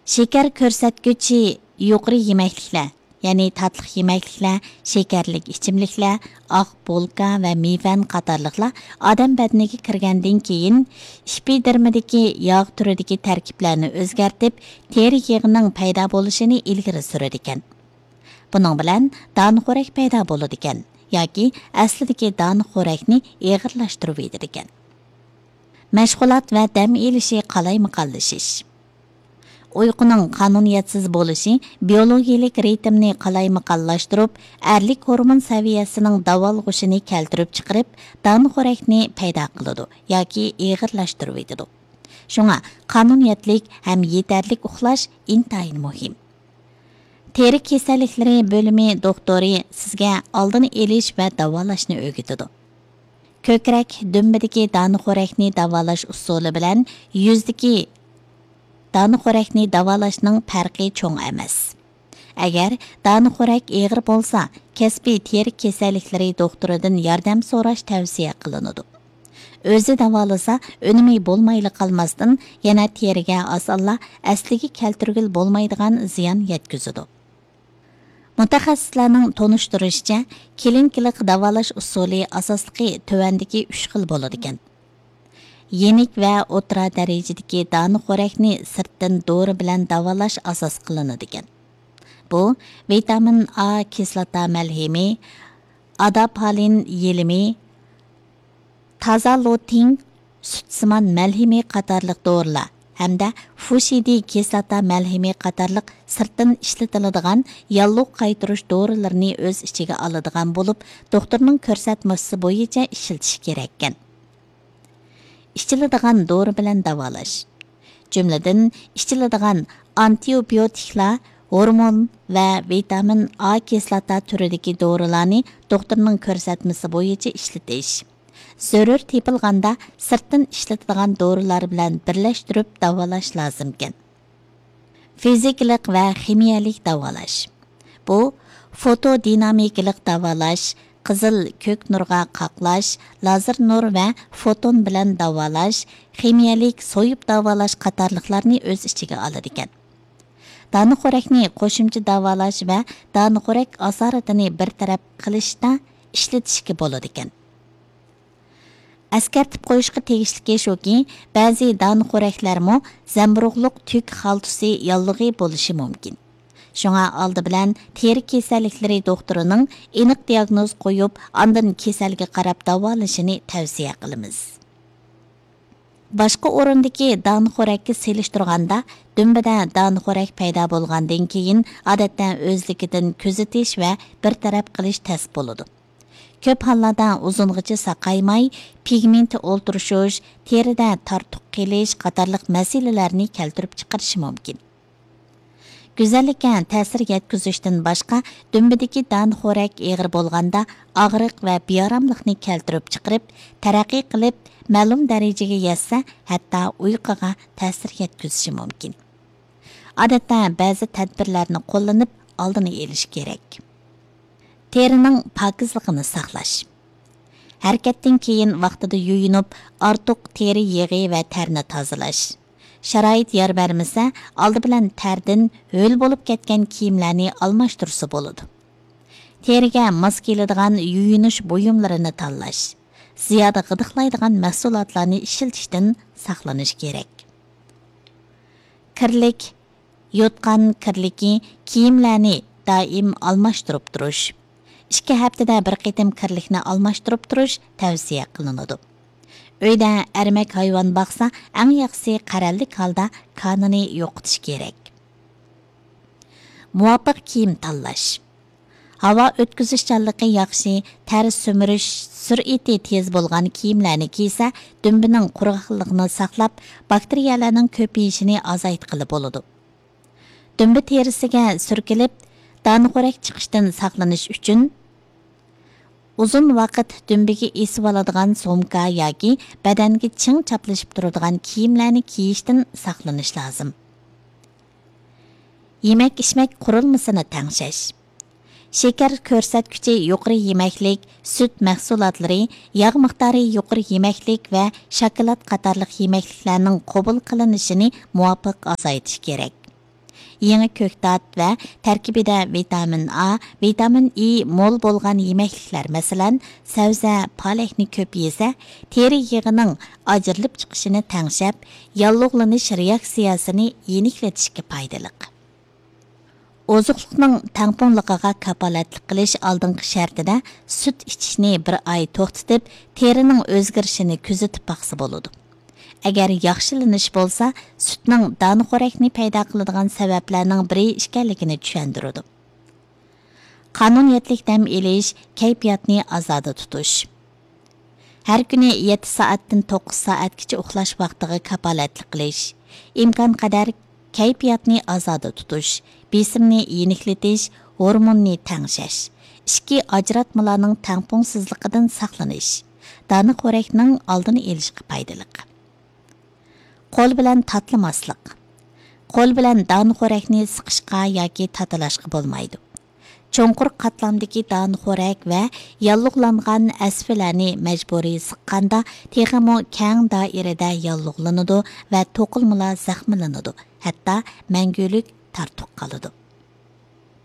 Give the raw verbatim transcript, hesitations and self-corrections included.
شېكەر كۆرسەتكۈچى يۇقىرى يېمەكلىكلەر، يەنى تاتلىق يېمەكلىكلەر، شېكەرلىك ئىچىملىكلەر، ئاق بولكا ۋە مېۋەن قاتارلىقلار ئادەم بەدىنىگە كىرگەندىن كېيىن، ئېپىدېرمىدىكى ياغ تۈرىدىكى تەركىبلەرنى ئۆزگەرتىپ، تېرە يېغىنىڭ پەيدا بولۇشىنى ئىلگىرى سۈرىدىكەن. بۇنىڭ بىلەن دانىخورەك پەيدا بولىدىكەن ياكى ئەسلىدىكى دانىخورەكنى ئېغىرلاشتۇرۇۋېتىدىكەن. مەشغۇلات ۋە دەم ئېلىشى قالايمىقانلىشىش. ئۇيقۇنىڭ قانۇنىيەتسىز بولۇشى بىيولوگىيىلىك رىتىمنى قالايمىقانلاشتۇرۇپ، ئەرلىك ھورمون سەۋىيەسىنىڭ داۋالغۇشىنى كەلتۈرۈپ چىقىرىپ، دانىخورەكنى پەيدا قىلىدۇ ياكى ئېغىرلاشتۇرۇۋېتىدۇ. شۇڭا قانۇنىيەتلىك ھەم يېتەرلىك ئۇخلاش ئىنتايىن مۇھىم. تېرە كېسەللىكلىرى بۆلۈمى دوختۇرى سىزگە ئالدىنى ئېلىش ۋە داۋالاشنى ئۆگىتىدۇ. كۆكرەك، دۈمبىدىكى دانىخورەكنى داۋالاش ئۇسۇلى بىلەن يۈزدىكى دانىخورەكنى داۋالاشنىڭ پەرقى چوڭ ئەمەس. ئەگەر دانىخورەك ئېغىر بولسا، كەسپىي تېرە كېسەللىكلىرى دوختۇرىدىن ياردەم سوراش تەۋسىيە قىلىنىدۇ. ئۆزى داۋالىسا، ئۈنۈمى بولمايلا قالماستىن، يەنە تېرىگە ئاسانلا ئەسلىگە كەلتۈرگىلى بولمايدىغان زىيان يەتكۈزىدۇ. مۇتەخەسسىسلەرنىڭ تونۇشتۇرۇشىچە، كلىنىكىلىق داۋالاش ئۇسۇلى ئاساسلىقى تۆۋەندىكى ئۈچ خىل بولىدىكەن. يېنىك ۋە ئوتتۇرا دەرىجىدىكى دانىخورەكنى سىرتتىن دورا بىلەن داۋالاش ئاساس قىلىنىدىكەن. بۇ ۋىتامىن ئا كىسلاتا مەلھىمى، ئاداپالىن يېلىمى، تازالوتىن سۈتسىمان مەلھىمى قاتارلىق دورىلار ھەمدە فۇشىدى كىسلاتا مەلھىمى قاتارلىق سىرتتىن ئىشلىتىلىدىغان ياللۇغ قايتۇرۇش دورىلىرىنى ئۆز ئىچىگە ئالىدىغان بولۇپ، دوختۇرنىڭ كۆرسەتمىسى بويىچە ئىشلىتىش كېرەككەن. ئىچىلىدىغان دورا بىلەن داۋالاش. جۈملىدىن، ئىچىلىدىغان ئانتىبىيوتىكلار، ھورمون ۋە ۋىتامىن ئا كىسلاتا تۈرىدىكى دورىلارنى دوختۇرنىڭ كۆرسەتمىسى بويىچە ئىشلىتىش. زۆرۈر تېپىلغاندا سىرتتىن ئىشلىتىدىغان دورىلار بىلەن بىرلەشتۈرۈپ داۋالاش لازىمكەن. فىزىكىلىق ۋە خىمىيەلىك داۋالاش. بۇ فوتودىنامىكىلىق داۋالاش، قىزىل، كۆك نۇرغا قاقلاش، لازېر نۇر ۋە فوتون بىلەن داۋالاش، خىمىيەلىك سويۇپ داۋالاش قاتارلىقلارنى ئۆز ئىچىگە ئالىدىكەن. دانىخورەكنى قوشۇمچە داۋالاش ۋە دانىخورەك ئاسارىتىنى بىر تەرەپ قىلىشتا ئىشلىتىشكە بولىدىكەن. ئەسكەرتىپ قويۇشقا تېگىشلىكى شۇكى، بەزى دانىخورەكلەرمۇ زەمبۇرۇغلۇق تۈك خالتىسى ياللۇغى بولۇشى مۇمكىن. شۇڭا ئالدى بىلەن تېرە كېسەللىكلىرى دوختۇرىنىڭ ئېنىق دىياگنوز قويۇپ، ئاندىن كېسەلگە قاراپ داۋالىشىنى تەۋسىيە قىلىمىز. باشقا ئورۇندىكى دانىخورەككە سېلىشتۇرغاندا، دۈمبىدە دانىخورەك پەيدا بولغاندىن كېيىن، ئادەتتە ئۆزلۈكىدىن كۆزىتىش ۋە بىر تەرەپ قىلىش تەس بولىدۇ. كۆپ ھاللاردا ئۇزۇنغىچە ساقايماي، پىگمېنت ئولتۇرۇشۇش، تېرىدە تارتۇق قېلىش قاتارلىق مەسىلىلەرنى كەلتۈرۈپ چىقىرىشى مۇمكىن. گۈزەللىككە تەسىر يەتكۈزۈشتىن باشقا، دۈمبىدىكى دانىخورەك ئېغىر بولغاندا، ئاغرىق ۋە بىئاراملىقنى كەلتۈرۈپ چىقىرىپ، تەرەققىي قىلىپ، مەلۇم دەرىجىگە يەتسە، ھەتتا ئۇيقۇغا تەسىر يەتكۈزۈشى مۇمكىن. ئادەتتە بەزى تەدبىرلەرنى قوللىنىپ، ئالدىنى ئېلىش كېرەك. تېرىنىڭ پاكىزلىقىنى ساقلاش. ھەرىكەتتىن كېيىن ۋاقتىدا يۇيۇنۇپ، ئارتۇق تېرە يېغى ۋە تەرنى تازىلاش. شارائىت يار بەرمىسە، ئالدى بىلەن تەردىن ھۆل بولۇپ كەتكەن كىيىملەرنى ئالماشتۇرسا بولىدۇ. تېرىگە ماس كېلىدىغان يۇيۇنۇش بۇيۇملىرىنى تاللاش. زىيادە غىدىقلايدىغان مەھسۇلاتلارنى ئىشلىتىشتىن ساقلىنىش كېرەك. كىرلىك، يوتقان كىرلىكى، كىيىملەرنى دائىم ئالماشتۇرۇپ تۇرۇش. ئىككى ھەپتىدە بىر قېتىم كىرلىكنى ئالماشتۇرۇپ تۇرۇش تەۋسىيە قىلىنىدۇ. ئۆيدە ئەرمەك ھايۋان باقسا، ئەڭ ياخشىسى قەرەللىك ھالدا كانىنى يوقىتىش كېرەك. مۇۋاپىق كىيىم تاللاش. ھاۋا ئۆتكۈزۈشچانلىقى ياخشى، تەر سۈمۈرۈش سۈرئىتى تېز بولغان كىيىملەرنى كىيسە، دۈمبىنىڭ قۇرغاقلىقىنى ساقلاپ، باكتېرىيەلەرنىڭ كۆپىيىشىنى ئازايتقىلى بولىدۇ. دۈمبە تېرىسىگە سۈركىلىپ، دانىخورەك چىقىشتىن ساقلىنىش ئۈچۈن، ئۇزۇن ۋاقىت دۈمبىگە ئېسىۋالىدىغان سومكا ياكى بەدەنگە چىڭ چاپلىشىپ تۇرىدىغان كىيىملەرنى كىيىشتىن ساقلىنىش لازىم. يېمەك-ئىچمەك قۇرۇلمىسىنى تەڭشەش. شېكەر كۆرسەتكۈچى يۇقىرى يېمەكلىك، سۈت مەھسۇلاتلىرى، ياغ مىقدارى يۇقىرى يېمەكلىك ۋە شاكىلات قاتارلىق يېمەكلىكلەرنىڭ قوبۇل قىلىنىشىنى مۇۋاپىق ئازايتىش كېرەك. يېڭى كۆكتات ۋە تەركىبىدە ۋىتامىن ئا، ۋىتامىن ئى مول بولغان يېمەكلىكلەر، مەسىلەن، سەۋزە، پالەكنى كۆپ يېسە، تېرە يېغىنىڭ ئاجرىلىپ چىقىشىنى تەڭشەپ، ياللۇغلىنىش رېئاكسىيەسىنى يېنىكلىتىشكە پايدىلىق. ئوزۇقلۇقنىڭ تەڭپۇڭلۇقىغا كاپالەتلىك قىلىش ئالدىنقى شەرتىدە سۈت ئىچىشنى بىر ئاي توختىتىپ، تېرىنىڭ ئۆزگىرىشىنى كۆزىتىپ باقسا بولىدۇ. ئەگەر ياخشىلىنىش بولسا، سۈتنىڭ دانىخورەكنى پەيدا قىلىدىغان سەۋەبلەرنىڭ بىرى ئىكەنلىكىنى چۈشەندۈرىدۇ. قانۇنىيەتلىك دەم ئېلىش، كەيپىياتنى ئازادە تۇتۇش. ھەر كۈنى يەتتە سائەتتىن توققۇز سائەتكىچە ئۇخلاش ۋاقتىغا كاپالەتلىك قىلىش، ئىمكانقەدەر كەيپىياتنى ئازادە تۇتۇش، بېسىمنى يېنىكلىتىش، ھورموننى تەڭشەش، ئىچكى ئاجراتمىلارنىڭ تەڭپۇڭسىزلىقىدىن ساقلىنىش، دانىخورەكنىڭ ئالدىنى ئېلىشقا پايدىلىق. قول بىلەن تاتىلىماسلىق. قول بىلەن دانىخورەكنى سىقىشقا ياكى تاتىلاشقا بولمايدۇ. چوڭقۇر قاتلامدىكى دانىخورەك ۋە ياللۇغلانغان ئەسۋىلەرنى مەجبۇرىي سىققاندا، تېخىمۇ كەڭ دائىرىدە ياللۇغلىنىدۇ ۋە توقۇلمىلار زەخىملىنىدۇ، ھەتتا مەڭگۈلۈك تارتۇق قالىدۇ.